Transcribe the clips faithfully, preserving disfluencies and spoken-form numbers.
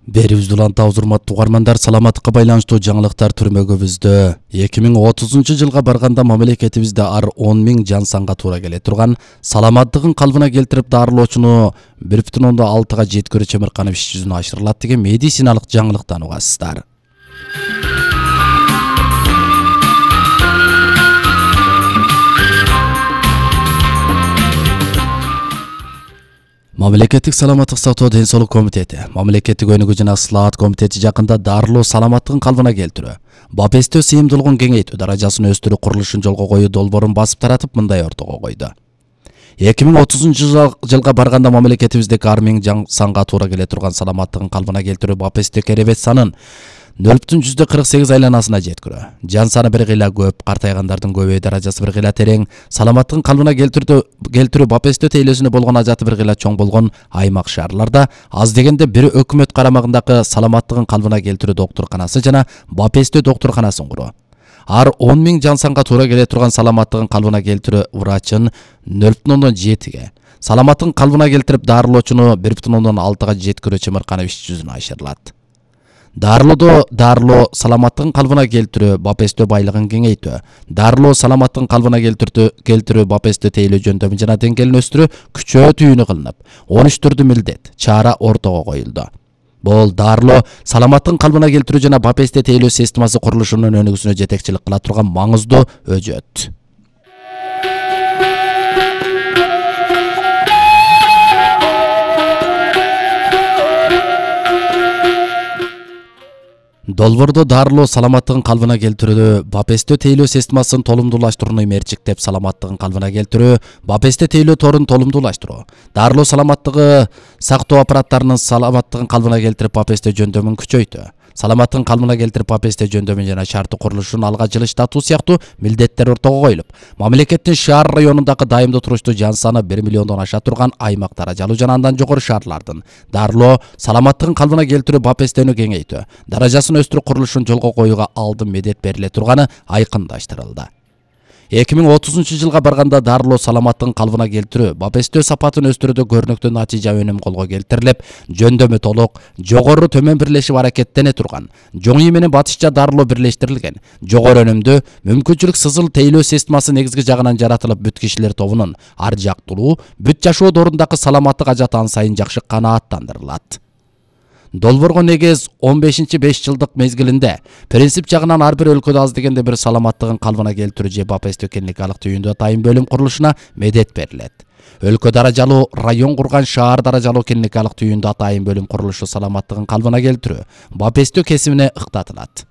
Берибизди уланта урматтуу угармандар, саламаттыкка байланыштуу жаңылыктар түрмөгүбүздө. эки миң отузунчу жылга барганда мамлекетибизде ар он миң жан санга туура келе турган саламаттыгын калыбына келтирип дарылоочуну бир бүтүн ондон алтыга жеткирүү Чемирканов иш жүзүнө ашырылат деген медициналык жаңылыктан угасыздар. Мамлекеттик саламаттык сактоо ден соолук комитети, мамлекеттик өнүгүү жана ысылаат комитети жакында дарылоо саламаттыгын калыбына келтирүү, бапестөө сыйымдуулугун кеңейтүү даражасын өстүрүү курулушун жолго коюу долбоорун басып таратып мындай ортого койду. эки миң отузунчу жылга барганда мамлекетибиздеги ар миң жан санга туура келе турган саламаттыгын калыбына келтирүү бапестөө керебет санын нөл бүтүн жүздө кырк сегиз айланасына жеткирүү. Жан саны бир кыйла көп, картайгандардын көбөйүү даражасы бир кыйла терең, саламаттыгын калыбына келтирүү келтирүү бапестөө тейлөөсүнө болгон ажаты бир кыйла чоң болгон аймак шаарларда аз дегенде бир өкмөт карамагындагы саламаттыгын калыбына келтирүү доктурканасы жана бапестөө доктурканасын куруу. Ар он миң жан санга туура келе турган саламаттыгын калыбына келтирүү врачын нөл бүтүн ондон жетиге, саламаттыгын калыбына келтирип дарылоочуну бир бүтүн ондон алтыга жеткирүү Чемирканов иш жүзүнө ашырылат. Дарылоодо дарылоо саламаттыгын калыбына келтирүү, бапестөө байлыгын кеңейтүү, дарылоо саламаттыгын калыбына келтирүү келтирүү бапестөө тейлөө жөндөмү жана деңгээлин өстүрүү күчөө түйүнү кылынып, он үч түрдүү милдет, чара ортого коюлду. Бул дарылоо саламаттыгын калыбына келтирүү жана бапестөө тейлөө системасы курулушунун өнүгүүсүнө жетекчилик кыла турган маңыздуу өжөт. Долбоордо дарылоо саламаттыгын калыбына келтирүү, бапестөө тейлөө системасын толумдуулаштырууну мерчиктеп саламаттыгын калыбына келтирүү, бапестөө тейлөө торун толумдуулаштыруу, дарылоо саламаттыгы сактоо аппараттарынын саламаттыгын калыбына келтирип бапестөө жөндөмүн күчөйтүү, саламаттыгын калыбына келтирип бапестөө жөндөмү жана шарттуу курулушун алга жылыштатуу сыяктуу милдеттер ортого коюлуп, мамлекеттин шаар районундагы дайымдуу туруштуу жан саны бир миллиондон аша турган аймак даражалуу жана андан жогору шаарлардын дарылоо саламаттыгын калыбына келтирүү бапестөөнү кеңейтүү, даражасын өстүрүү курулушун жолго коюуга алдын медет бериле турганы айкындаштырылды. эки миң отузунчу жылга барганда дарылоо саламаттыгын калыбына келтирүү, бапестөө сапатын өстүрүүдө көрүнүктүү натыйжа өнүм колго келтирилип, жөндөмү толук, жогору төмөн бирлешип аракеттене турган, жоңүй менен батышча дарылоо бирлештирилген, жогору өнүмдүү, мүмкүнчүлүк сызыл тейлөө системасы негизги жагынан жаратылып, бүт кишилер тобунун ар жактуулуу, бүт жашоо дорундагы саламаттык ажаты ан сайын жакшы канааттандырылат. Долбоорго негиз он бешинчи беш жылдык мезгилинде принцип жагынан ар бир өлкөдө аз дегенде бир саламаттыгын калыбына келтирүү же бапестөө клиникалык түйүндө атайын бөлүм курулушуна медет берилет. Өлкө даражалуу район курган шаар даражалуу клиникалык түйүндө атайын бөлүм курулушу саламаттыгын калыбына келтирүү, бапестөө кесибине ыктатылат.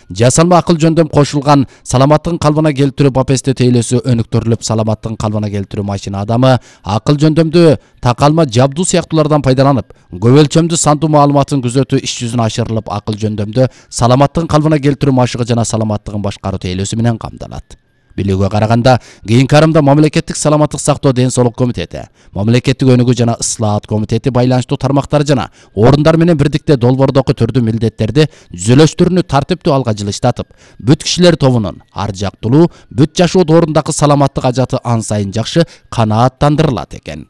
Жасалма акыл жөндөм кошулган саламаттыгын калыбына келтирүү бапестөө тейлөөсү өнүктүрүлүп, саламаттыгын калыбына келтирүү машина адамы акыл жөндөмдүү такалма жабдуу сыяктуулардан пайдаланып, көп өлчөмдүү сандуу маалыматын күзөтүү иш жүзүнө ашырылып, акыл жөндөмдүү саламаттыгын калыбына келтирүү машыгы жана саламаттыгын башкаруу тейлөөсү менен камдалат. Билүүгө караганда, кийинки арымда мамлекеттик саламаттык сактоо ден соолук комитети, мамлекеттик өнүгүү жана ысылаат комитети байланыштуу тармактар жана орундар менен бирдикте долбоордогу түрдүү милдеттерди түзүлүштөрүнү тартиптүү алга жылыштатып, бүт кишилер тобунун ар жактуулуу, бүт жашоо дорундагы саламаттык ажаты ан сайын жакшы канааттандырылат экен.